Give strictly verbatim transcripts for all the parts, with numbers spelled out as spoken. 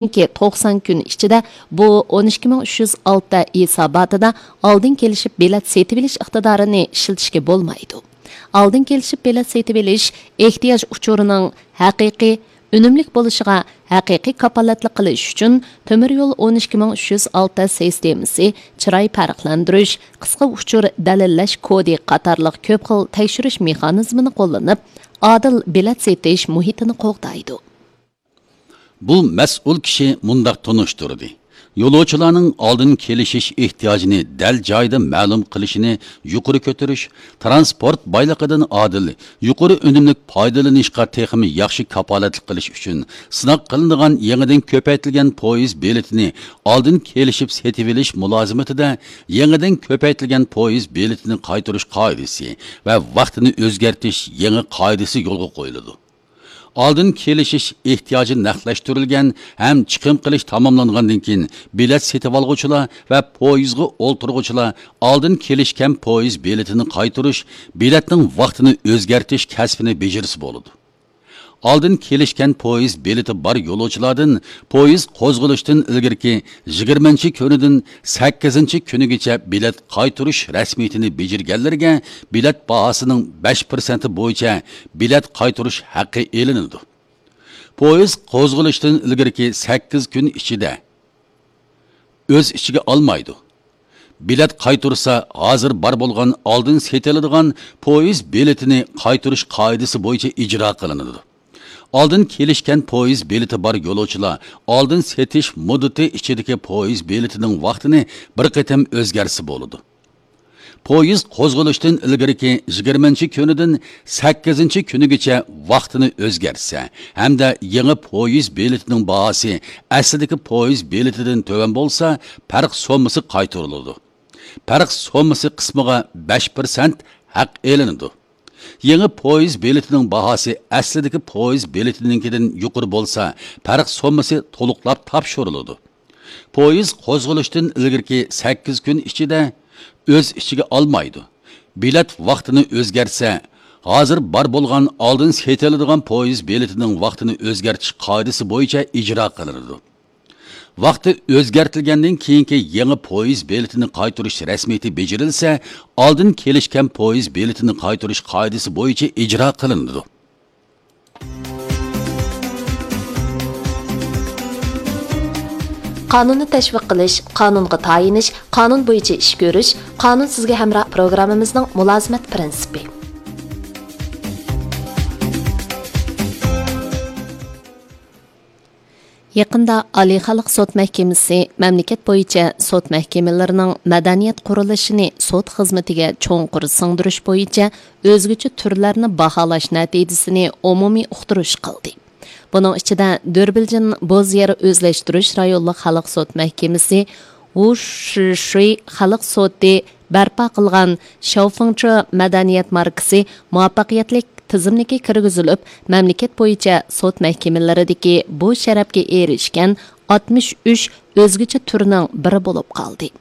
كېيىنكى توقسان كۈن ئىچىدە بۇ ئون ئىككى مىڭ ئۈچ يۈز ئالتە ھېساباتىدا ئالدىن كېلىشىپ بېلەت سېتىۋېلىش ئىقتىدارىنى ئىشلىتىشكە بولمايدۇ. ئالدىن كېلىشىپ بېلەت سېتىۋېلىش ئېھتىياج ئۇچۇرىنىڭ ھەقىقىي، ئۈنۈملۈك بولۇشىغا ھەقىقىي كاپالەتلىك قىلىش ئۈچۈن، تۆمۈر يول ئون ئىككى مىڭ ئۈچ يۈز ئالتە سىستېمىسى، چىراي پەرقلەندۈرۈش، قىسقا ئۇچۇر دەلىللەش كودى قاتارلىق كۆپ خىل تەكشۈرۈش مېخانىزمىنى قوللىنىپ، ئادىل بېلەت سېتىش مۇھىتىنى قوغدايدۇ. بۇ مەسئۇل كىشى مۇنداق تونۇشتۇردى: يولۇچىلارنىڭ ئالدىن كېلىشىش ئېھتىياجىنى دەل جايىدا مەلۇم قىلىشىنى يۇقىرى كۆتۈرۈش، تىرانسپورت بايلىقىدىن ئادىل، يۇقىرى ئۈنۈملۈك پايدىلىنىشقا تېخىمۇ ياخشى كاپالەتلىك قىلىش ئۈچۈن، سىناق قىلىنىدىغان يېڭىدىن كۆپەيتىلگەن پويىز بېلىتىنى ئالدىن كېلىشىپ سېتىۋېلىش مۇلازىمىتىدە يېڭىدىن كۆپەيتىلگەن پويىز بېلىتىنى قايتۇرۇش قائىدىسى ۋە ۋاقتىنى ئۆزگەرتىش يېڭى قائىدىسى يولغا قويۇلىدۇ. ئالدىن كېلىشىش ئېھتىياجى نەقلەشتۈرۈلگەن ھەم چىقىم قىلىش تاماملانغاندىن كېيىن، بېلەت سېتىۋالغۇچىلار ۋە پويىزغا ئولتۇرغۇچىلار ئالدىن كېلىشكەن پويىز بېلىتىنى قايتۇرۇش، بېلەتنىڭ ۋاقتىنى ئۆزگەرتىش كەسپىنى بېجىرسە بولىدۇ. ئالدىن كېلىشكەن پويىز بېلىتى بار يولۇچىلاردىن پويىز قوزغىلىشتىن ئىلگىرىكى يىگىرمىنچى كۈنىدىن سەككىزىنچى كۈنىگىچە بېلەت قايتۇرۇش رەسمىيىتىنى بېجىرگەنلەرگە بېلەت باھاسىنىڭ بەش پىرسەنتى بويىچە بېلەت قايتۇرۇش ھەققى ئېلىنىدۇ. پويىز قوزغىلىشتىن ئىلگىرىكى سەككىز كۈن ئىچىدە ئۆز ئىچىگە ئالمايدۇ. بېلەت قايتۇرسا، ھازىر بار بولغان ئالدىن سېتىلىدىغان پويىز بېلىتىنى قايتۇرۇش قائىدىسى بويىچە ئىجرا قىلىنىدۇ. ئالدىن كېلىشكەن پويىز بېلىتى بار يولۇچىلار ئالدىن سېتىش مۇددىتى ئىچىدىكى پويىز بېلىتىنىڭ ۋاقتىنى بىر قېتىم ئۆزگەرتسە بولىدۇ. پويىز قوزغىلىشتىن ئىلگىرىكى يىگىرمىنچى كۈنىدىن سەككىزىنچى كۈنىگىچە ۋاقتىنى ئۆزگەرتسە ھەمدە يېڭى پويىز بېلىتىنىڭ باھاسى ئەسلىدىكى پويىز بېلىتىدىن تۆۋەن بولسا، پەرق سوممىسى قايتۇرۇلىدۇ. پەرق سوممىسى قىسمىغا بەش پىرسەنت ھەق ئېلىنىدۇ. يېڭى پويىز بېلىتىنىڭ باھاسى ئەسلىدىكى پويىز بېلىتىنىڭكىدىن يۇقىرى بولسا، پەرق سوممىسى تولۇقلاپ تاپشۇرۇلىدۇ. پويىز قوزغىلىشتىن ئىلگىرىكى سەككىز كۈن ئىچىدە ئۆز ئىچىگە ئالمايدۇ. بېلەت ۋاقتىنى ئۆزگەرتسە، ھازىر بار بولغان ئالدىن سېتىلىدىغان پويىز بېلىتىنىڭ ۋاقتىنى ئۆزگەرتىش قائىدىسى بويىچە ئىجرا قىلىنىدۇ. ۋاقتى ئۆزگەرتىلگەندىن كېيىنكى يېڭى پويىز بېلىتىنى قايتۇرۇش رەسمىيىتى بېجىرىلسە، ئالدىن كېلىشكەن پويىز بېلىتىنى قايتۇرۇش قائىدىسى بويىچە ئىجرا قىلىنىدۇ. قانۇننى تەشۋىق قىلىش، قانۇنغا تايىنىش، قانۇن بويىچە ئىش كۆرۈش، قانۇن سىزگە ھەمراھ پروگراممىمىزنىڭ مۇلازىمەت پىرىنسىپى. يېقىندا ئالىي خەلق سوت مەھكىمىسى مەملىكەت بويىچە سوت مەھكىمىلىرىنىڭ مەدەنىيەت قۇرۇلۇشىنى سوت خىزمىتىگە چوڭقۇر سىڭدۈرۈش بويىچە ئۆزگىچە تۈرلەرنى باھالاش نەتىجىسىنى ئومۇمىي ئۇقتۇرۇش قىلدى. بۇنىڭ ئىچىدە، دۆربىلجىن بوز يەر ئۆزلەشتۈرۈش رايونلۇق خەلق سوت مەھكىمىسى، ۋۇشىشۇي خەلق سوتى بەرپا قىلغان شاۋفېڭچې مەدەنىيەت ماركىسى مۇۋەپپەقىيەتلىك تىزىملىككە كىرگۈزۈلۈپ، مەملىكەت بويىچە سوت مەھكىمىلىرىدىكى بۇ شەرەپكە ئېرىشكەن ئاتمىش ئۈچ ئۆزگىچە تۈرنىڭ بىرى بولۇپ قالدى.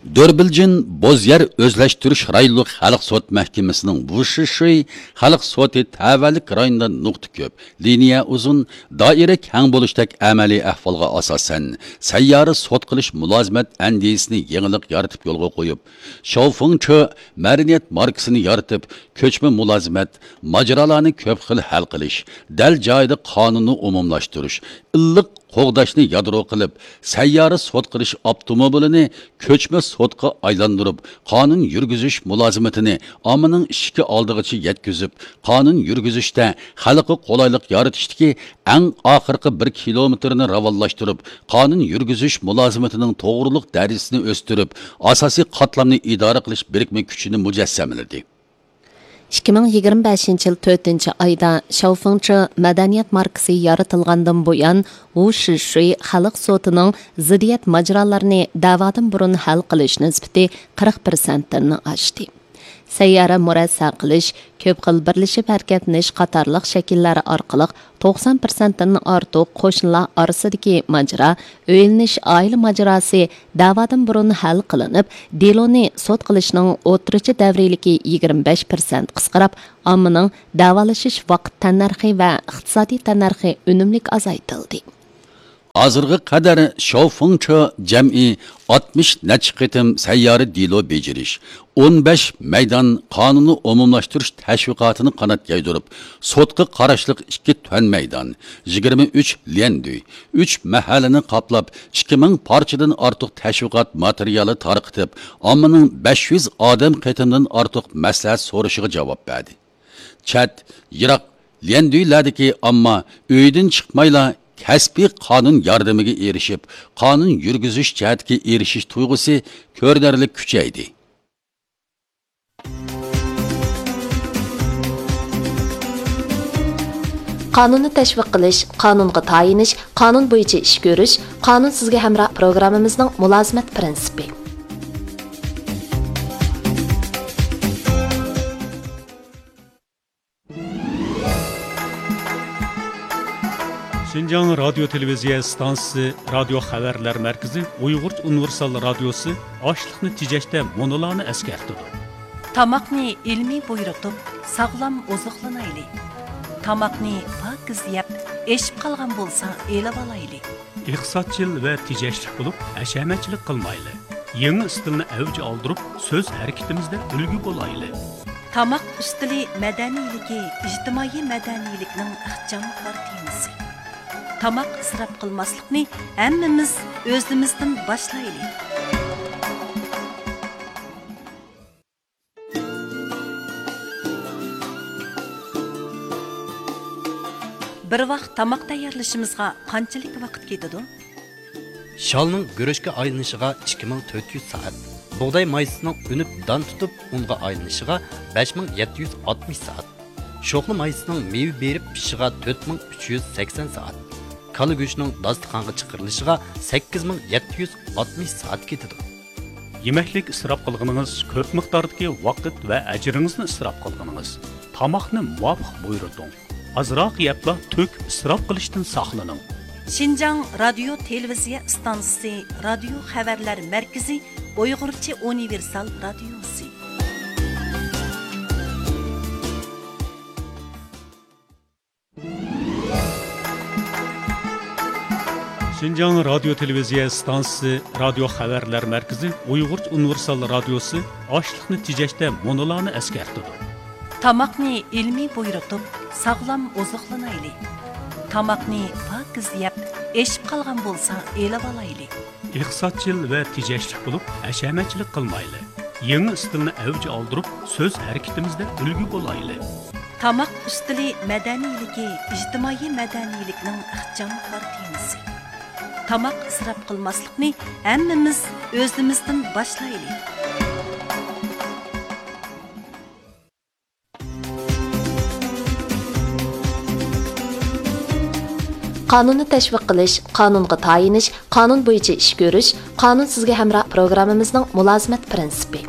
دۆربىلجىن بوز يەر ئۆزلەشتۈرۈش رايونلۇق خەلق سوت مەھكىمىسىنىڭ ۋۇشىشۇي خەلق سوتى تەۋەلىك رايونىدا نۇقتا كۆپ، لىنىيە ئۇزۇن، دائىرە كەڭ بولۇشتەك ئەمەلىي ئەھۋالغا ئاساسەن، سەييارە سوت قىلىش مۇلازىمەت ئەندىزىسىنى يېڭىلىق يارىتىپ يولغا قويۇپ، شاۋفېڭچې مەدەنىيەت ماركىسىنى يارىتىپ، كۆچمە مۇلازىمەت، ماجىرالارنى كۆپ خىل ھەل قىلىش، دەل جايىدا قانۇننى ئومۇملاشتۇرۇش، ئىللىق قوغداشنى يادرو قىلىپ، سەييارە سوت قىلىش ئاپتوموبىلىنى كۆچمە سوتقا ئايلاندۇرۇپ، قانۇن يۈرگۈزۈش مۇلازىمىتىنى ئاممىنىڭ ئىشىكى ئالدىغىچە يەتكۈزۈپ، قانۇن يۈرگۈزۈشتە خەلققە قولايلىق يارىتىشتىكى ئەڭ ئاخىرقى بىر كىلومېتىرنى راۋانلاشتۇرۇپ، قانۇن يۈرگۈزۈش مۇلازىمىتىنىڭ توغرىلىق دەرىجىسىنى ئۆستۈرۈپ، ئاساسىي قاتلامنى ئىدارە قىلىش بىرىكمە كۈچىنى مۇجەسسەملىدى. ئىككى مىڭ يىگىرمە بەشىنچى يىل تۆتىنچى ئايدا شاۋفېڭچې مەدەنىيەت ماركىسى يارىتىلغاندىن بۇيان، ۋۇشىشۇي خەلق سوتىنىڭ زىددىيەت ماجىرالىرىنى دەۋادىن بۇرۇن ھەل قىلىش نىسبىتى قىرىق پىرسەنتتىن ئاشتى. سەييارە مۇرەسسە قىلىش، كۆپ خىل بىرلىشىپ ھەرىكەتلىنىش قاتارلىق شەكىللەر ئارقىلىق توقسان پىرسەنتتىن ئارتۇق قوشنىلار ئارىسىدىكى ماجىرا، ئۆيلىنىش ئائىلە ماجىراسى دەۋادىن بۇرۇن ھەل قىلىنىپ، دېلونى سوت قىلىشنىڭ ئوتتۇرىچە دەۋرىيلىكى يىگىرمە بەش پىرسەنت قىسقىراپ، ئاممىنىڭ دەۋالىشىش ۋاقىت تەننەرخى ۋە ئىقتىسادىي تەننەرخى ئۈنۈملۈك ئازايتىلدى. ھازىرغا قەدەر شاۋفېڭچې جەمئىي ئاتمىش نەچچە قېتىم سەييارە دېلو بېجىرىش، ئون بەش مەيدان قانۇننى ئومۇملاشتۇرۇش تەشۋىقاتىنى قانات يايدۇرۇپ، سوتقا قاراشلىق ئىككى تۈەن مەيدان، يىگىرمە ئۈچ ليەندۈي، ئۈچ مەھەللىنى قاپلاپ، ئىككى مىڭ پارچىدىن ئارتۇق تەشۋىقات ماتېرىيالى تارقىتىپ، ئاممىنىڭ بەش يۈز ئادەم قېتىمدىن ئارتۇق مەسلىھەت سورىشىغا جاۋاب بەردى. چەت، يىراق ليەندۈيلەردىكى ئامما ئۆيىدىن چىقمايلا، كەسپىي قانۇن ياردىمىگە ئېرىشىپ، قانۇن يۈرگۈزۈش جەھەتتىكى ئېرىشىش تۇيغۇسى كۆرۈنەرلىك كۈچەيدى. قانۇننى تەشۋىق قىلىش، قانۇنغا تايىنىش، قانۇن بويىچە ئىش كۆرۈش، قانۇن سىزگە ھەمراھ پروگراممىمىزنىڭ مۇلازىمەت پىرىنسىپى. شىنجاڭ رادىيو تېلېۋىزىيە ئىستانسىسى رادىيو خەۋەرلەر مەركىزى ئۇيغۇرچە ئۇنىۋېرسال رادىيوسى ئاشلىقنى تېجەشتە مۇنۇلارنى ئەسكەرتىدۇ. تاماقنى ئىلمىي بۇيرۇتۇپ، ساغلام ئوزۇقلىنايلى. تاماقنى پاكىز يەپ، ئېشىپ قالغان بولسا ئېلىۋالايلى. ئىقتىسادچىل ۋە تېجەشلىك بولۇپ، ھەشەمەتچىلىك قىلمايلى. يېڭى ئىستىلنى ئەۋج ئالدۇرۇپ، سۆز ھەرىكىتىمىزدە ئۈلگە بولايلى. تاماق ئۈستىلى مەدەنىيلىكى ئىجتىمائىي مەدەنىيلىكنىڭ ئىخچام كارتىنىسى. تاماق ئىسراپ قىلماسلىقنى ھەممىمىز ئۆزىمىزدىن باشلايلى. بىر ۋاق تاماق تەييارلىشىمىزغا قانچىلىك ۋاقىت كېتىدۇ؟ شالنىڭ گۈرۈچكە ئايلىنىشىغا ئىككى مىڭ تۆت يۈز سائەت، بۇغداي مايسىسىنىڭ ئۈنۈپ دان تۇتۇپ ئۇنغا ئايلىنىشىغا بەش مىڭ يەتتە يۈز ئاتمىش سائەت، شوخلا مايسىسىنىڭ مېۋە بېرىپ پىشىشىغا تۆت مىڭ ئۈچ يۈز سەكسەن سائەت، كالا گۆشىنىڭ داستىخانغا چىقىرىلىشىغا سەككىز مىڭ يەتتە يۈز ئاتمىش سائەت كېتىدۇ. يېمەكلىك ئىسراپ قىلغىنىڭىز كۆپ مىقداردىكى ۋاقىت ۋە ئەجرىڭىزنى ئىسراپ قىلغىنىڭىز. تاماقنى مۇۋاپىق بۇيرۇتۇڭ. ئازراق يەپلا تۆكۈپ ئىسراپ قىلىشتىن ساقلىنىڭ. شىنجاڭ رادىيو تېلېۋىزىيە ئىستانسىسى رادىيو خەۋەرلەر مەركىزى ئۇيغۇرچە ئۇنىۋېرسال رادىيوسى. شىنجاڭ رادىيو تېلېۋىزىيە ئىستانسىسى رادىيو خەۋەرلەر مەركىزى ئۇيغۇرچە ئۇنىۋېرسال رادىيوسى ئاشلىقنى تېجەشتە مۇنۇلارنى ئەسكەرتىدۇ. تاماقنى ئىلمىي بۇيرۇتۇپ، ساغلام ئوزۇقلىنايلى. تاماقنى پاكىز يەپ، ئېشىپ قالغان بولسا ئېلىۋالايلى. ئىقتىسادچىل ۋە تېجەشلىك بولۇپ، ھەشەمەتچىلىك قىلمايلى. يېڭى ئىستىلنى ئەۋج ئالدۇرۇپ، سۆز ھەرىكىتىمىزدە ئۈلگە بولايلى. تاماق ئۈستىلى مەدەنىيلىكى ئىجتىمائىي مەدەنىيلىكنىڭ ئىخچام كارتىنىسى. تاماق ئىسراپ قىلماسلىقنى ھەممىمىز ئۆزىمىزدىن باشلايلى. قانۇننى تەشۋىق قىلىش، قانۇنغا تايىنىش، قانۇن بويىچە ئىش كۆرۈش، قانۇن سىزگە ھەمراھ پروگراممىمىزنىڭ مۇلازىمەت پىرىنسىپى.